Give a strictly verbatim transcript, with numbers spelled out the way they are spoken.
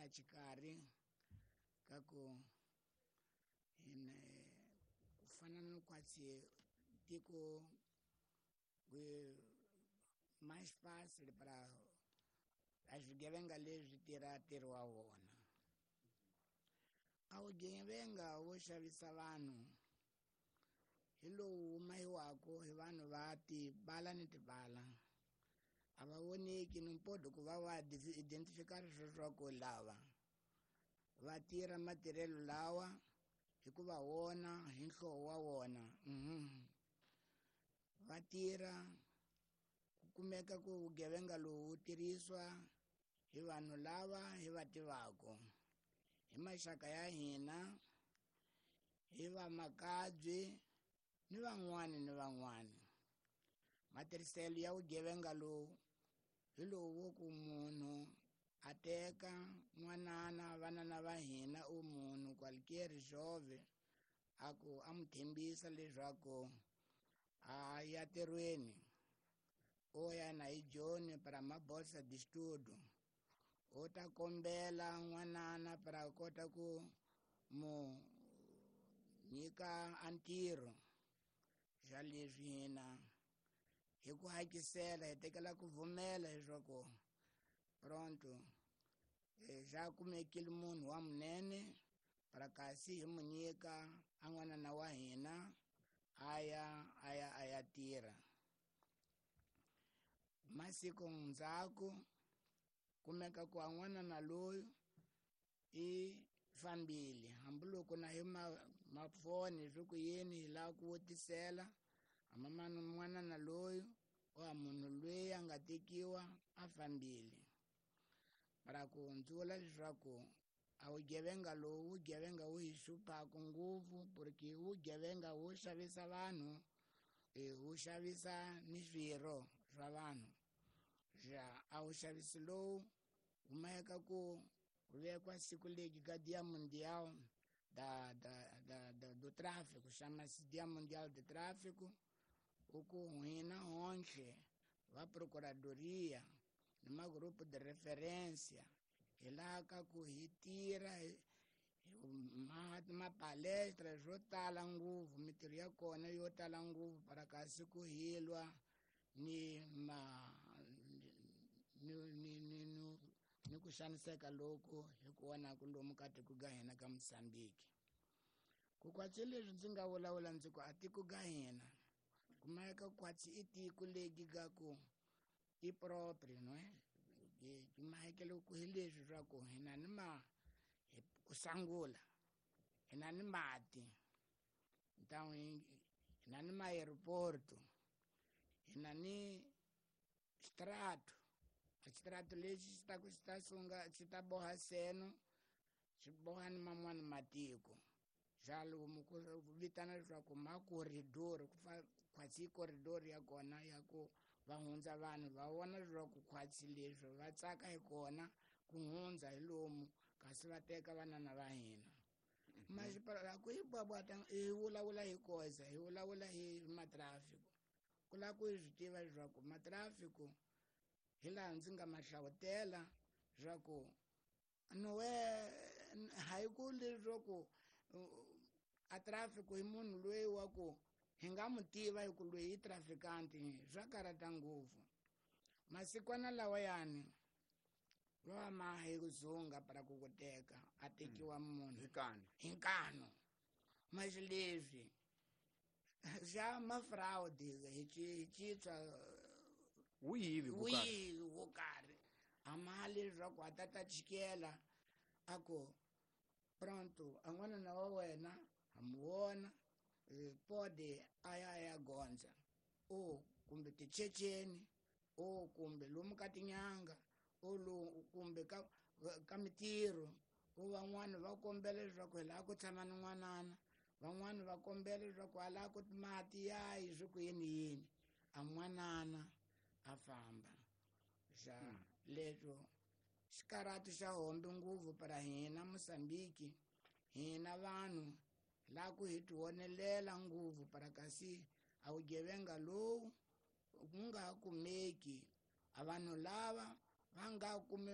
laha xikarhi ka ku hina ku fana na kwatsi tiko mais fácil para a swigevenga leswi tirha ntirho wa wona. A vugevenga wo xavisa vanhu hi lowu mahiwaka hi vanhu va tibala ni tibala a va voneki ni mpodo ku va va identificar leswaku lava va tirha matirhelo lawa hikuva wona hi nhlowo wa wona va tirha ku kumeka ku vugevenga lowu wu tirhisiwa hi vanhu lava hi va tivaka hi maxaka ya hina hi vamakabye ni van'wani ni van'wani. Matirhiselo ya vugevenga lowu hi lowu wo ku munhu a teka n'wanana vanana va hina u munhu qualquer jovem a ku a mu tshembisa leswaku a ya ntirhweni o ya na hi Joni para mabolsa de estudo o ta kombela n'wanana para kota ku mu nyika a ntirho xa leswi hina hi ku hakisela hi tekela ku pfumela leswaku pronto xa kumekile munhu wa munene para kasi hi mu nyika a n'wanana wa hina a ya a ya a ya tirha. Masiku ndzhaku kumeka ku a n'wanana loyi i fambile hambiloko na hi mafoni swi ku yini hi lava ku vutisela hamamani n'wanana loyi wa munhu loyi a nga tekiwa a fambile. Para ku hundzula leswaku a vugevenga lowu vugevenga wu hi hluphaka ngopfu porque vugevenga wu xavisa vanhu wu xavisa ni swirho swa vanhu. Xa a wu xavisi lowu kumeka ku vekiwa siku legi ka Dia Mundial da da da da do Tráfico, chama-se Dia Mundial de Tráfico, o ku hina honhle va procuradoria ni magrupo de referência hi laha ka ku hi tirha mapalestra swo tala ngopfu mintirho ya kona yo tala ngopfu para kasi ku hilwa ni ma ni ni ni ni ku xaniseka loku hi ku vonaka lomu ka tiko ga hina ka Mozambique. Ku kwatsi leswi ndzi nga vulavula ndzi ku a tiko ga hina kumeka kwatsi i tiko legi ga ku i proprio no mahekelo ku hi leswi swa ku hina ni ma ku sangula hina ni mati então hina ni ma-aeroporto hina ni xitirato a xitirato lexi xi ta ku xi ta sunga xi ta boha seno xi boha ni man'wani matiko xa lomu ku vitana leswaku makoridori ku khwatsi i koridori ya kona ya ku va hundza vanhu va vona leswaku khwatsi leswi va tsaka hi kona ku hundza hi lomu kasi va teka vanana va hina. Masipala ku hi bwabwata hi vulavula hi koza hi vulavula hi matrafiko ku lava ku hi swi tiva leswaku matrafiko hi laha ndzi nga ma hlavutela leswaku nowe hayi ku leswaku a traffic hi munhu loyi wa ku hi nga mu tiva hi ku loyi i trafikanti swa karhata ngopfu. Masikwana lawayani va ma hi ku dzunga para ku ku teka a tekiwa munhu hi nkanu hi nkanu masi leswi xa ma-fraud hi citswa wiyivi wiyivi wo karhi a mali leswaku a ta ta chikela a ku pronto a n'wanana wa wena ha mu vona pode a ya a ya gondza o kumbe tichecheni o kumbe lomu ka tinyanga o lomu kumbe ka ka mintirho o van'wani va kombela leswaku hi lava ku tshama ni n'wanana van'wani va kombela leswaku a lava ku mati yayi swi ku yini yini a n'wanana a famba. Xa leswo xikarhati xa hombe ngopfu para hina Mozambique hina vanhu laha ku hi tivonelela ngopfu para kasi a vugevenga lowu ku nga kumeki a vanhu lava va nga kumi